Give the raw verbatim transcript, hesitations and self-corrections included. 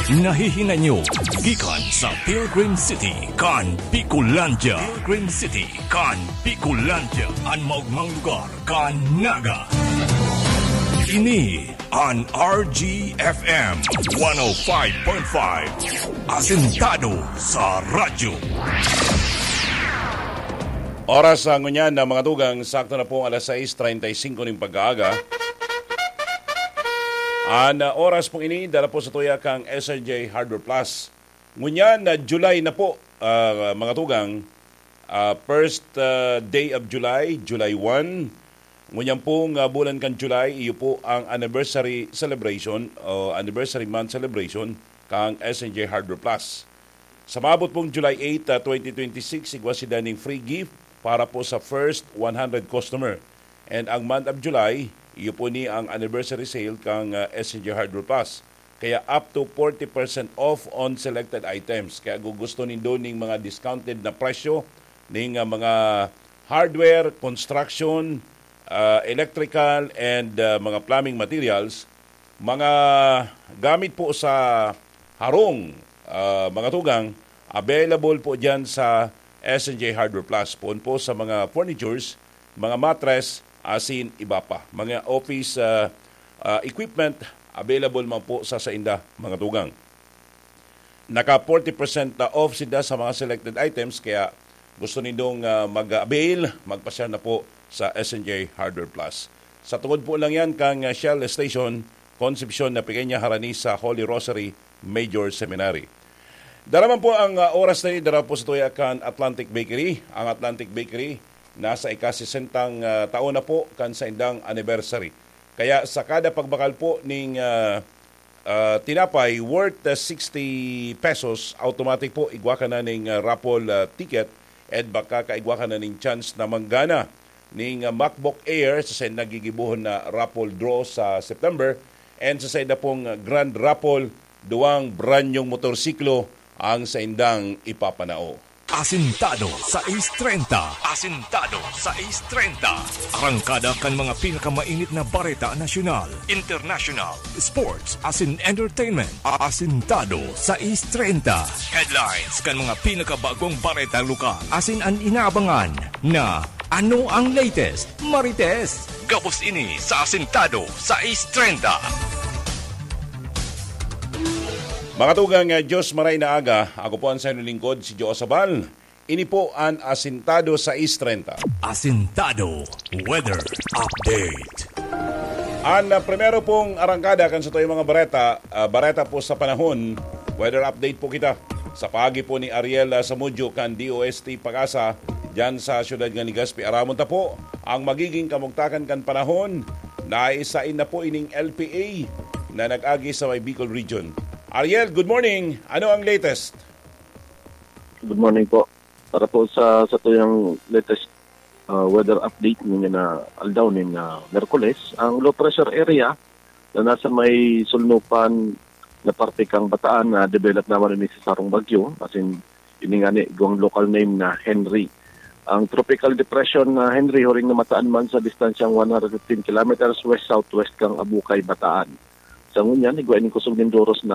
Nahihinay nyo gikan sa Pilgrim City kan Bicolandia. Pilgrim City kan Bicolandia, an maogmang lugar kan Naga. Ini an R G F M one oh five point five, asentado sa radyo. Oras sa ngunyan na mga tugang, sakto na pong alas sais treinta y cinco ning pag-aaga. An, ah, oras pong ini, dara po sa tuya kang S N J Hardware Plus. Ngunyan na July na po, ah, mga tugang, ah, first, ah, day of July, July one. Ngunyan pong, ah, bulan kan July, iyo po ang anniversary celebration o anniversary month celebration kang S N J Hardware Plus. Sa maabot pong July eight, ah, twenty twenty-six, igwa sinda ning free gift para po sa first one hundred customer. And ang month of July, iyo po ni ang anniversary sale kang, ah, S N J Hardware Plus. Kaya up to forty percent off on selected items. Kaya kung gusto nindo ning mga discounted na presyo, ning, ah, mga hardware, construction, ah, electrical, and, ah, mga plumbing materials, mga gamit po sa harong, ah, mga tugang, available po dyan sa S N J Hardware Plus. Poon po sa mga furnitures, mga mattress, asin iba pa. Mga office, ah, ah, equipment, available man po sa sainda, mga tugang. Naka forty percent na off sinda sa mga selected items, kaya gusto nindong, ah, mag-avail, magpasyal na po sa S N J Hardware Plus. Sa tungod po lang yan kang, ah, Shell Station, Concepcion na Pequeña, harani sa Holy Rosary Major Seminary. Dara man po ang, ah, oras na ini, dara po sa tuya kan Atlantic Bakery. Ang Atlantic Bakery nasa ikasesentang, ah, taon na po kan saindang anniversary. Kaya sa kada pagbakal po ning, ah, ah, tinapay worth, ah, sixty pesos, automatic po igwa ka na ning, ah, raffle, ah, ticket, and baka kaigwa ka na ning chance na manggana ning, ah, MacBook Air sa saindang gigibohon na raffle draw sa September, and sa sainda pong, ah, Grand Raffle, duwang brand nyong motorsiklo ang saindang ipapanao. Asintado sais treinta. Asintado sais treinta. Arangkada kan mga pinakamainit na bareta nasyonal, international, sports, asin entertainment. Asintado sais treinta. Headlines kan mga pinakabagong bareta lokal. Asin an inaabangan na ano ang latest, Marites. Gabos ini sa Asintado sais treinta. Mga tugang, ah, Diyos maray na aga. Ako po ang sayo lingkod, si Joe Sabal. Ini po an Asintado sais treinta. Asintado Weather Update. An, ah, primero pong arangkada kan satuyang mga bareta, ah, bareta po sa panahon. Weather update po kita. Sa paagi po ni Ariel, ah, Samudyo kan D O S T Pag-asa, diyan sa siyudad nga Legazpi, aramon ta po ang magiging kamugtakan kan panahon. Naisain na po ining L P A na nag-agi sa may Bicol Region. Ariel, good morning. Ano ang latest? Good morning po. Para po sa satuyang latest, ah, weather update ninyo na aldaw nin, ah, Miyerkules, ang low pressure area na nasa may sulnupan na parte kang Bataan na develop naman ini sa sarong bagyo, as in, ini nga ni, igwang local name na Henry. Ang tropical depression na Henry huring namataan man sa distansyang one hundred fifteen kilometers west-southwest kang Abukay, Bataan. Sa ngunyan, igwa ining kusog nin doros na